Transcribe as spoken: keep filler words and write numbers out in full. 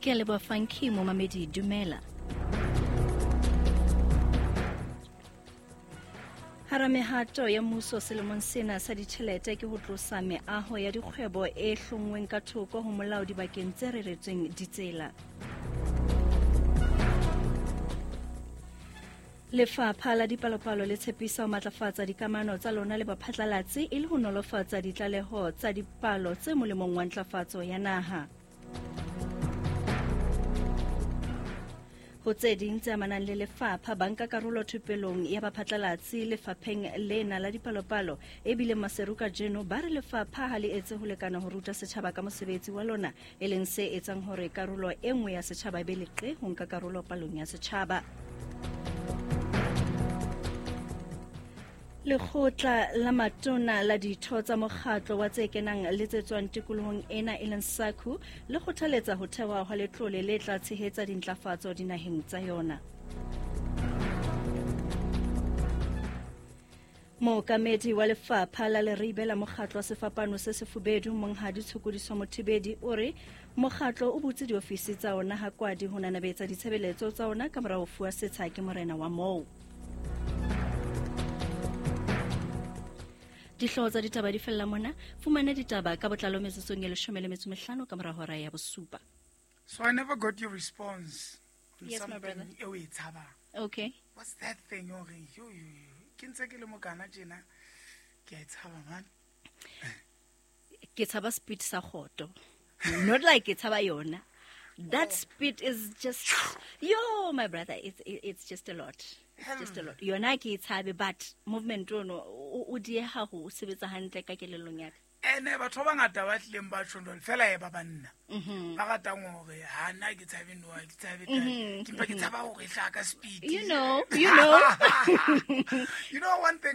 Ke a leboha Funky, momamedi dumela. Hara mehato ya mmuso selemong sena sa ditjhelete ke ho tlosa meaho ya dikgwebo e hlonngweng ka thoko ho molao dibakeng tse reretsweng ditsela. Lefapha la Dipalopalo le tshepisa ho matlafatsa dikamano tsa lona le baphatlalatsi e le ho nolofatsa ditlaleho tsa dipalo tse molemong wa ntlafatso ya naha. Ho tse ding tse amanang le lefapha, banka karolo thupelong ya baphatlalatsi lefapheng lena la dipalopalo e bile Maseru kajeno ba re lefapha ha le etse ho lekana ho ruta setjhaba ka mosebetsi wa lona, e leng se etsang hore karolo e nngwe ya setjhaba e be leqe ho nka karolo palong ya setjhaba. Lekgotla la matona la ditho tsa mokgatlo wa tse kenang le tse tswang tikolohong ena e leng SACU le kgothaletsa ho thewa hwa letlole le tla tshehetsa dintlafatso dinaheng tsa yona. Mookamedi wa lefapha la Leribe la mokgatlo wa Sefapano se Sefubedu Monghadi Tshokodiso Mothibedi o re mokgatlo o butse diofisi tsa ona ha kwadi ho nanabetsa ditshebeletso tsa ona ka mora ho fuwa setsha ke morena wa moo. Dihlooho tsa ditaba di fella mona. Fumana ditaba ka botlalo metsotsong e leshome le metso mehlano ka mora hora ya bosupa. So I never got your response on Yes, my brother. something e o e tshabang. Okay. What's that thing o reng yo yo yo ke ntse ke le mokana tjena ke a e tshaba man. Ke tshaba speed sa kgoto. Not like ke tshaba yona. That speed is just yo my brother, it's it's just a lot. It's just a lot. Yona ke e tshabe, but movement ono o o dieha ho sebetsa hantle ka kelellong ya ka. Ene batho ba bangata ba tlileng ba tjho jwale fela e ba banna. Mhm. Ba ratang hore ha nna ke tshabe noa, ke tshabe taba. Mhm, Ke mpa ke tshaba hore e hlaha ka speed. You know, you know. You know one thing